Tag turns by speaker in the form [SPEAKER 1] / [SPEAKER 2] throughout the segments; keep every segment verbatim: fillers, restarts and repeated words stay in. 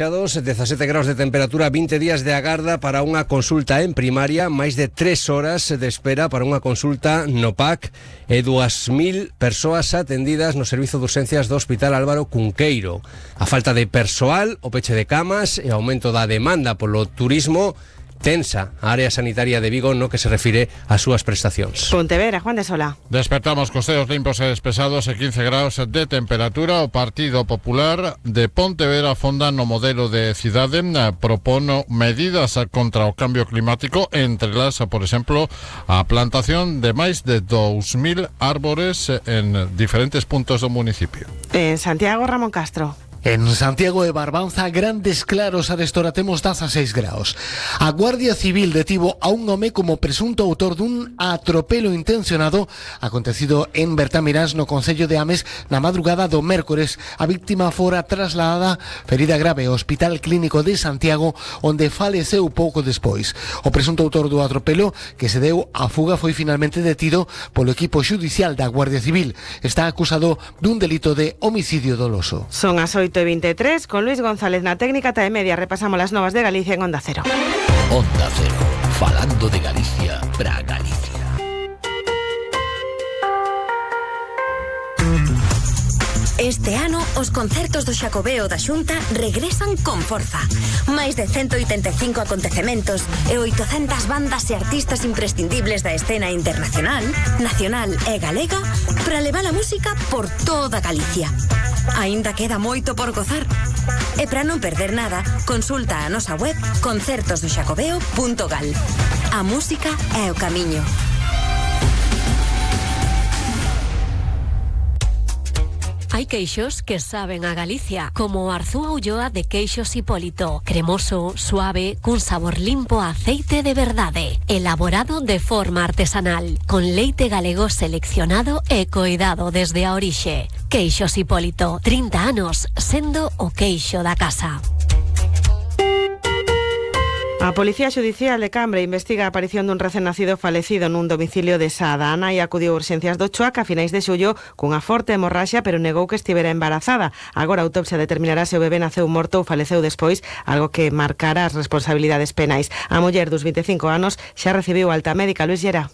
[SPEAKER 1] dezasete graus de temperatura, vinte días de agarda para unha consulta en primaria, máis de tres horas de espera para unha consulta no P A C e dúas mil persoas atendidas no servizo de urxencias do Hospital Álvaro Cunqueiro. A falta de persoal, o peche de camas e o aumento da demanda polo turismo tensa a área sanitaria de Vigo no que se refire ás súas prestacións.
[SPEAKER 2] Pontevedra, Juan de Sola.
[SPEAKER 3] Despertamos cos ceos limpos e despesados e quince graus de temperatura. O Partido Popular de Pontevedra fonda no modelo de cidade, propono medidas contra o cambio climático, entre las, por exemplo, a plantación de máis de dous mil árbores en diferentes puntos do municipio.
[SPEAKER 2] En Santiago, Ramón Castro.
[SPEAKER 4] En Santiago de Barbanza, grandes claros arestora temos dezaseis graus. A Guardia Civil detivo a un home como presunto autor dun atropelo intencionado acontecido en Bertamiráns, no concello de Ames, na madrugada do mércores. A víctima fora trasladada ferida grave ao Hospital Clínico de Santiago, onde faleceu pouco despois. O presunto autor do atropelo, que se deu a fuga, foi finalmente detido polo equipo xudicial da Guardia Civil. Está acusado dun delito de homicidio doloso.
[SPEAKER 2] Son as oito e veintitrés, con Luis González na técnica e media. Repasamos las novas de Galicia en Onda Cero.
[SPEAKER 5] Onda Cero, falando de Galicia para Galicia.
[SPEAKER 6] Este ano, os concertos do Xacobeo da Xunta regresan con forza. Máis de ciento oitenta e cinco acontecementos e oitocentas bandas e artistas imprescindibles da escena internacional, nacional e galega para levar a música por toda Galicia. Aínda queda moito por gozar. E para non perder nada, consulta a nosa web concertos do xacobeo punto gal. A música é o camiño.
[SPEAKER 7] Hai queixos que saben a Galicia, como o Arzúa Ulloa de Queixos Hipólito. Cremoso, suave, cun sabor limpo a aceite de verdade. Elaborado de forma artesanal, con leite galego seleccionado e coidado desde a orixe. Queixos Hipólito, trinta anos, sendo o queixo da casa.
[SPEAKER 2] A Policía Xudicial de Cambre investiga a aparición dun recén nacido falecido nun domicilio de Sada. A nai acudiu a urxencias do Chuac a finais de xullo cunha forte hemorraxia, pero negou que estivera embarazada. Agora a autopsia determinará se o bebé naceu morto ou faleceu despois, algo que marcará as responsabilidades penais. A muller dos vinte e cinco anos xa recibiu alta médica. Luis Llera.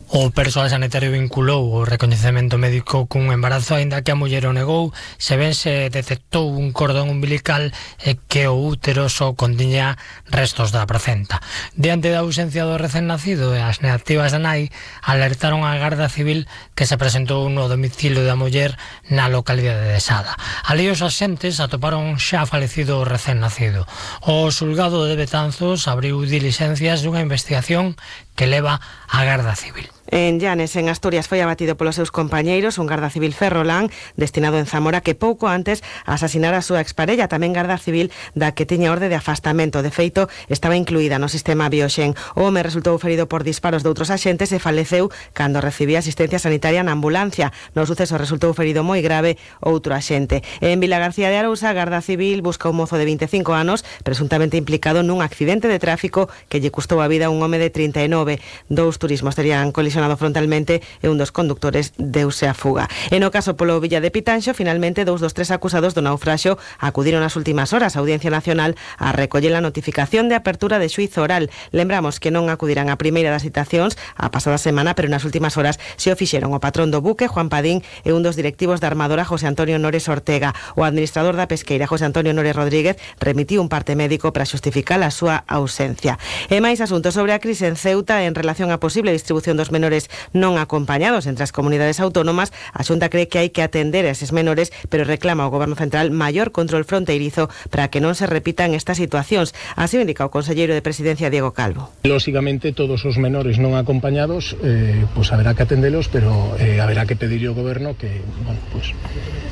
[SPEAKER 8] O persoal sanitario vinculou o recoñecemento médico cun embarazo, aínda que a muller o negou, se ben se detectou un cordón umbilical e que o útero só contiña restos da placenta. Diante da ausencia do recén nacido e as negativas da nai, alertaron a Garda Civil que se presentou no domicilio da muller na localidade de Sada. Alí os axentes atoparon xa falecido o recén nacido. O xulgado de Betanzos abriu diligencias dunha investigación que leva a Garda Civil.
[SPEAKER 2] En Llanes, en Asturias, foi abatido polos seus compañeiros un garda civil ferrolán destinado en Zamora que pouco antes asasinara a súa exparella, tamén garda civil da que tiña orde de afastamento. De feito, estaba incluída no sistema Bioxen. O home resultou ferido por disparos de outros axentes e faleceu cando recibía asistencia sanitaria na ambulancia. No suceso resultou ferido moi grave outro axente. En Vilagarcía de Arousa, a Garda Civil busca un mozo de vinte e cinco anos presuntamente implicado nun accidente de tráfico que lle custou a vida a un home de trinta e nove. Dous turismos terían colisionado frontalmente e un dos conductores deuse a fuga. E no caso polo Villa de Pitanxo, finalmente dous dos tres acusados do naufraxio acudiron nas últimas horas á Audiencia Nacional a recoller a notificación de apertura de xuízo oral. Lembramos que non acudirán a primeira das citacións a pasada semana, pero nas últimas horas se o fixeron o patrón do buque, Juan Padín, e un dos directivos da armadora, José Antonio Nores Ortega. O administrador da pesqueira, José Antonio Nores Rodríguez, remitiu un parte médico para xustificar a súa ausencia. E máis asuntos sobre a crise en Ceuta en relación á posible distribución dos menores non acompañados entre as comunidades autónomas. A Xunta cree que hai que atender a eses menores, pero reclama ao Goberno Central maior control fronteirizo para que non se repitan estas situacións. Así o indica o conselleiro de Presidencia, Diego Calvo.
[SPEAKER 9] Lógicamente, todos os menores non acompañados, eh, pues haberá que atendelos, pero eh, haberá que pedirle ao Goberno que, bueno, pues,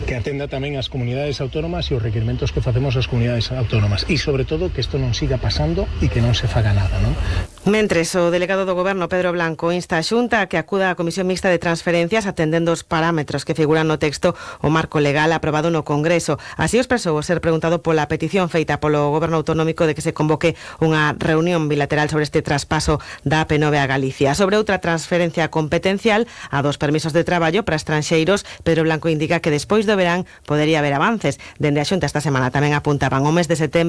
[SPEAKER 9] que atenda tamén as comunidades autónomas e os requerimentos que facemos as comunidades autónomas. E, sobre todo, que isto non siga pasando e que non se faga nada, non?
[SPEAKER 2] Mentres, o delegado do Goberno, Pedro Blanco, insta a Xunta a que acuda á Comisión Mixta de Transferencias atendendo os parámetros que figuran no texto o marco legal aprobado no Congreso. Así o expresou ao ser preguntado pola petición feita polo Goberno Autonómico de que se convoque unha reunión bilateral sobre este traspaso da A P nove a Galicia. Sobre outra transferencia competencial, a dos permisos de traballo para estranxeiros, Pedro Blanco indica que despois do verán podería haber avances. Dende a Xunta esta semana tamén apuntaban o mes de setembro